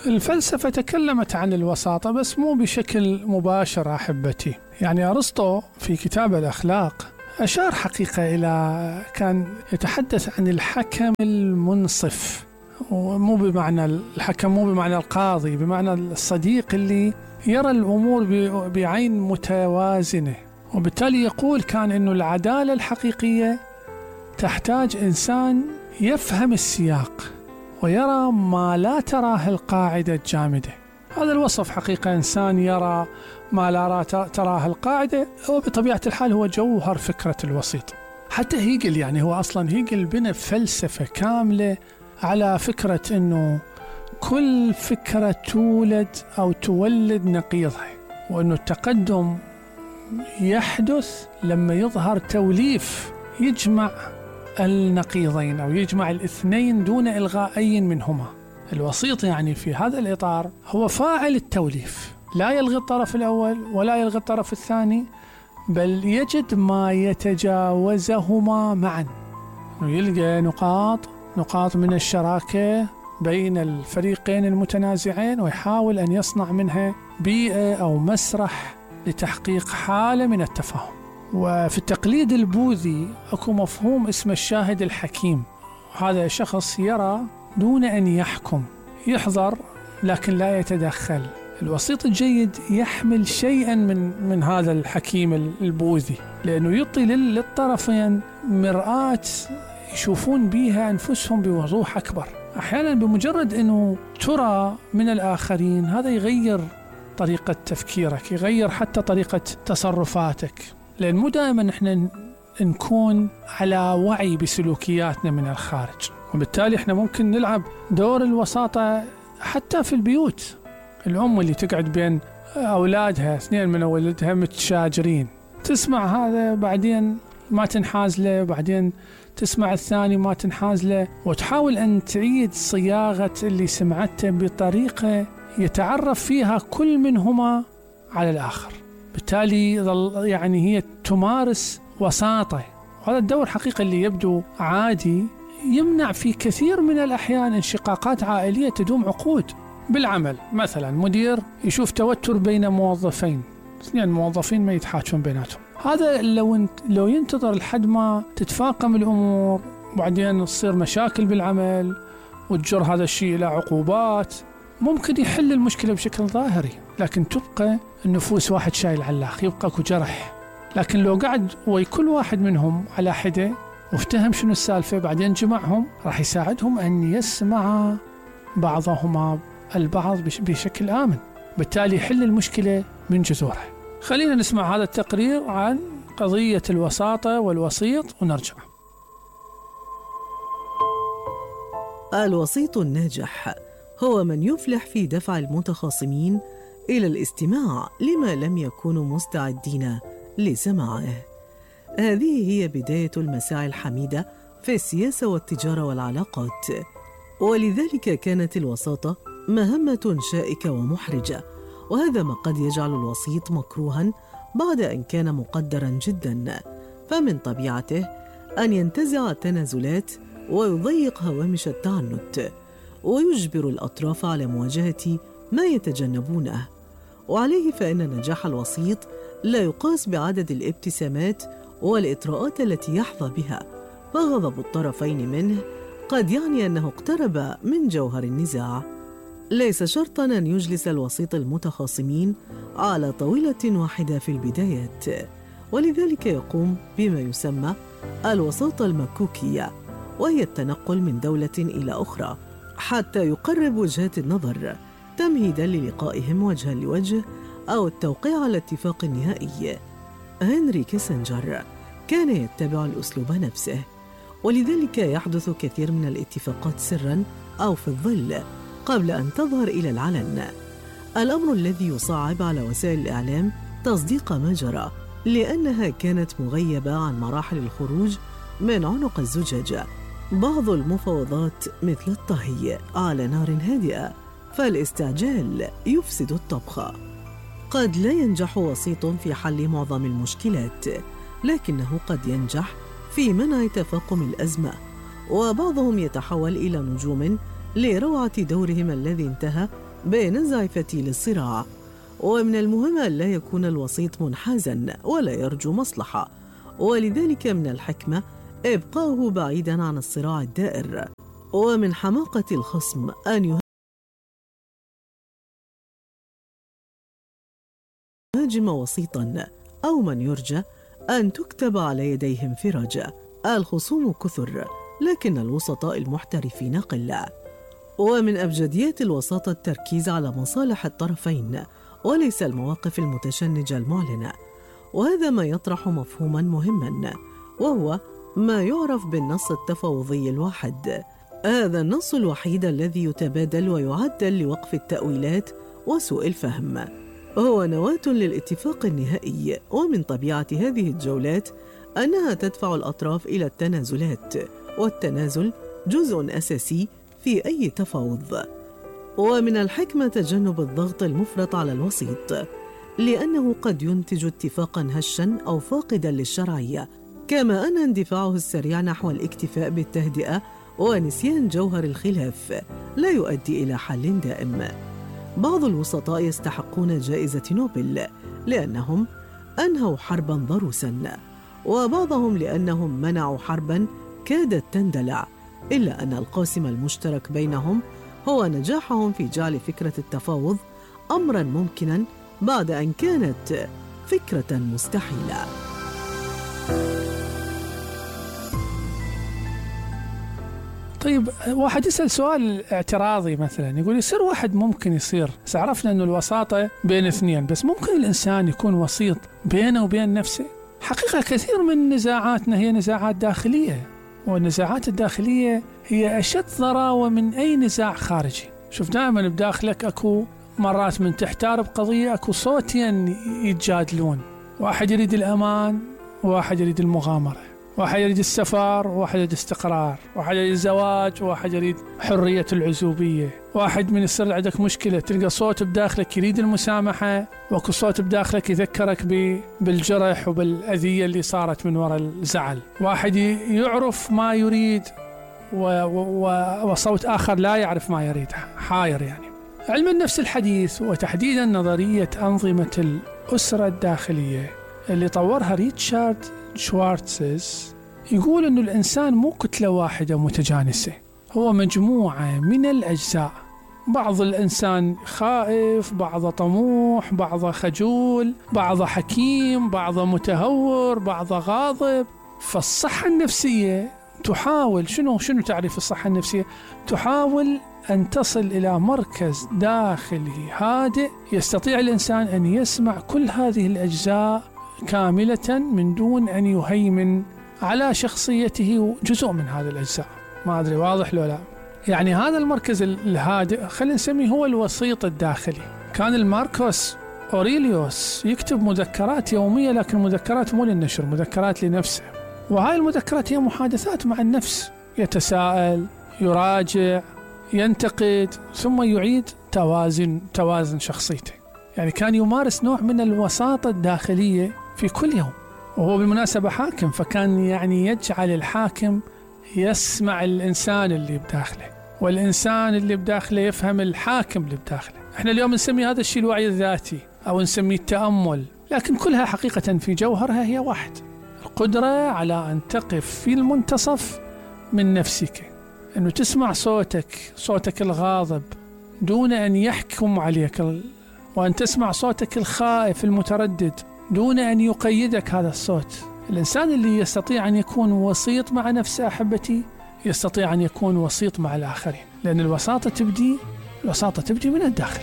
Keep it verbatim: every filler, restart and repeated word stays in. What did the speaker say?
الفلسفة تكلمت عن الوساطة بس مو بشكل مباشر أحبتي. يعني أرسطو في كتاب الأخلاق أشار حقيقة إلى، كان يتحدث عن الحكم المنصف، ومو بمعنى الحكم مو بمعنى القاضي، بمعنى الصديق اللي يرى الأمور بعين متوازنة. وبالتالي يقول كان إنه العدالة الحقيقية تحتاج إنسان يفهم السياق ويرى ما لا تراه القاعدة الجامدة. هذا الوصف حقيقة إنسان يرى ما لا تراه القاعدة، وبطبيعة الحال هو جوهر فكرة الوسيط. حتى هيجل، يعني هو أصلا هيجل بنى فلسفة كاملة على فكرة أنه كل فكرة تولد أو تولد نقيضها، وأنه التقدم يحدث لما يظهر توليف يجمع النقيضين أو يجمع الاثنين دون إلغاء أي منهما. الوسيط يعني في هذا الإطار هو فاعل التوليف، لا يلغي الطرف الأول ولا يلغي الطرف الثاني، بل يجد ما يتجاوزهما معا، ويلقى نقاط نقاط من الشراكة بين الفريقين المتنازعين، ويحاول أن يصنع منها بيئة أو مسرح لتحقيق حالة من التفاهم. وفي التقليد البوذي أكو مفهوم اسمه الشاهد الحكيم. هذا شخص يرى دون أن يحكم، يحضر لكن لا يتدخل. الوسيط الجيد يحمل شيئا من من هذا الحكيم البوذي، لأنه يعطي للطرفين مرآة يشوفون بها أنفسهم بوضوح أكبر. أحيانا بمجرد أنه ترى من الآخرين هذا يغير طريقة تفكيرك، يغير حتى طريقة تصرفاتك، لأن مو دائما نحن نكون على وعي بسلوكياتنا من الخارج. وبالتالي احنا ممكن نلعب دور الوساطة حتى في البيوت. الأم اللي تقعد بين أولادها، اثنين من أولادها متشاجرين، تسمع هذا بعدين ما تنحاز له، بعدين تسمع الثاني ما تنحاز له، وتحاول أن تعيد صياغة اللي سمعته بطريقة يتعرف فيها كل منهما على الآخر. بالتالي يعني هي تمارس وساطة. وهذا الدور حقيقة اللي يبدو عادي يمنع في كثير من الأحيان انشقاقات عائلية تدوم عقود. بالعمل مثلا مدير يشوف توتر بين موظفين، اثنين موظفين ما يتحاجون بيناتهم، هذا لو لو ينتظر لحد ما تتفاقم الأمور وبعدين تصير مشاكل بالعمل وتجر هذا الشيء إلى عقوبات، ممكن يحل المشكلة بشكل ظاهري، لكن تبقى النفوس واحد شايل على الآخر، يبقى جرح. لكن لو قعد وكل واحد منهم على حدة وافتهم شنو السالفة بعدين جمعهم، راح يساعدهم أن يسمع بعضهما البعض بشكل آمن، بالتالي يحل المشكلة من جذورها. خلينا نسمع هذا التقرير عن قضية الوساطة والوسيط ونرجع. الوسيط الناجح هو من يفلح في دفع المتخاصمين إلى الاستماع لما لم يكونوا مستعدين لسماعه. هذه هي بداية المساعي الحميدة في السياسة والتجارة والعلاقات، ولذلك كانت الوساطة مهمة شائكة ومحرجة، وهذا ما قد يجعل الوسيط مكروها بعد أن كان مقدرا جدا. فمن طبيعته أن ينتزع التنازلات ويضيق هوامش التعنت، ويجبر الأطراف على مواجهة ما يتجنبونه. وعليه فإن نجاح الوسيط لا يقاس بعدد الابتسامات والإطراءات التي يحظى بها، فغضب الطرفين منه قد يعني أنه اقترب من جوهر النزاع. ليس شرطاً أن يجلس الوسيط المتخاصمين على طاولة واحدة في البدايات، ولذلك يقوم بما يسمى الوساطة المكوكية، وهي التنقل من دولة إلى أخرى حتى يقرب وجهات النظر تمهيداً للقائهم وجها لوجه أو التوقيع على اتفاق نهائي. هنري كيسنجر كان يتبع الأسلوب نفسه، ولذلك يحدث كثير من الاتفاقات سراً أو في الظل قبل أن تظهر إلى العلن، الأمر الذي يصعب على وسائل الإعلام تصديق ما جرى، لأنها كانت مغيبة عن مراحل الخروج من عنق الزجاجة. بعض المفاوضات مثل الطهي على نار هادئة، فالاستعجال يفسد الطبخ. قد لا ينجح وسيط في حل معظم المشكلات، لكنه قد ينجح في منع تفاقم الأزمة، وبعضهم يتحول إلى نجوم لروعة دورهم الذي انتهى بنزع فتيل الصراع. ومن المهم أن لا يكون الوسيط منحازاً ولا يرجو مصلحة، ولذلك من الحكمة إبقاؤه بعيداً عن الصراع الدائر. ومن حماقة الخصم أن يهاجم وسيطاً أو من يرجى أن تكتب على يديه انفراجة. الخصوم كثر لكن الوسطاء المحترفين قلة. ومن أبجديات الوساطة التركيز على مصالح الطرفين وليس المواقف المتشنجة المعلنة، وهذا ما يطرح مفهوما مهما، وهو ما يعرف بالنص التفاوضي الواحد. هذا النص الوحيد الذي يتبادل ويعدل لوقف التأويلات وسوء الفهم، هو نواة للاتفاق النهائي. ومن طبيعة هذه الجولات أنها تدفع الأطراف إلى التنازلات، والتنازل جزء أساسي في أي تفاوض. ومن الحكمة تجنب الضغط المفرط على الوسيط، لأنه قد ينتج اتفاقاً هشاً أو فاقداً للشرعية، كما أن اندفاعه السريع نحو الاكتفاء بالتهدئة ونسيان جوهر الخلاف لا يؤدي إلى حل دائم. بعض الوسطاء يستحقون جائزة نوبل لأنهم أنهوا حرباً ضروساً، وبعضهم لأنهم منعوا حرباً كادت تندلع، إلا أن القاسم المشترك بينهم هو نجاحهم في جعل فكرة التفاوض أمراً ممكناً بعد أن كانت فكرة مستحيلة. طيب واحد يسأل سؤال اعتراضي مثلا، يقول يصير واحد ممكن يصير، عرفنا أنه الوساطة بين اثنين، بس ممكن الإنسان يكون وسيط بينه وبين نفسه؟ حقيقة كثير من نزاعاتنا هي نزاعات داخلية، والنزاعات الداخلية هي أشد ضراوة من أي نزاع خارجي. شوف دائما بداخلك أكو مرات من تحتارب قضية أكو صوتين يتجادلون، واحد يريد الأمان وواحد يريد المغامرة، واحد يريد السفر وواحد يريد استقرار، واحد يريد الزواج وواحد يريد حرية العزوبية، واحد من يصير عندك مشكلة تلقى صوت بداخلك يريد المسامحة، واكو صوت بداخلك يذكرك بالجرح وبالأذية اللي صارت من وراء الزعل، واحد يعرف ما يريد وصوت آخر لا يعرف ما يريد، حاير. يعني علم النفس الحديث وتحديدا نظرية أنظمة الأسرة الداخلية اللي طورها ريتشارد شوارتز يقول أنه الإنسان مو كتلة واحدة متجانسة، هو مجموعة من الأجزاء، بعض الإنسان خائف، بعض طموح، بعض خجول، بعض حكيم، بعض متهور، بعض غاضب. فالصحة النفسية تحاول شنو شنو تعريف الصحة النفسية؟ تحاول أن تصل إلى مركز داخلي هادئ يستطيع الإنسان أن يسمع كل هذه الأجزاء كاملة من دون أن يهيمن على شخصيته جزء من هذه الأجزاء. ما أدري واضح لو لا؟ يعني هذا المركز الهادئ خلينا نسميه هو الوسيط الداخلي. كان الماركوس أوريليوس يكتب مذكرات يومية، لكن مذكرات مو للنشر، مذكرات لنفسه، وهاي المذكرات هي محادثات مع النفس، يتساءل، يراجع، ينتقد، ثم يعيد توازن توازن شخصيته. يعني كان يمارس نوع من الوساطة الداخلية في كل يوم، وهو بالمناسبة حاكم، فكان يعني يجعل الحاكم يسمع الإنسان اللي بداخله، والإنسان اللي بداخله يفهم الحاكم اللي بداخله. احنا اليوم نسمي هذا الشيء الوعي الذاتي أو نسميه التأمل، لكن كلها حقيقة في جوهرها هي واحد، القدرة على أن تقف في المنتصف من نفسك، أنه تسمع صوتك صوتك الغاضب دون أن يحكم عليك، وأن تسمع صوتك الخائف المتردد دون أن يقيدك هذا الصوت. الإنسان اللي يستطيع أن يكون وسيط مع نفسه أحبتي يستطيع أن يكون وسيط مع الآخرين، لأن الوساطة تبدي الوساطة تبدي من الداخل.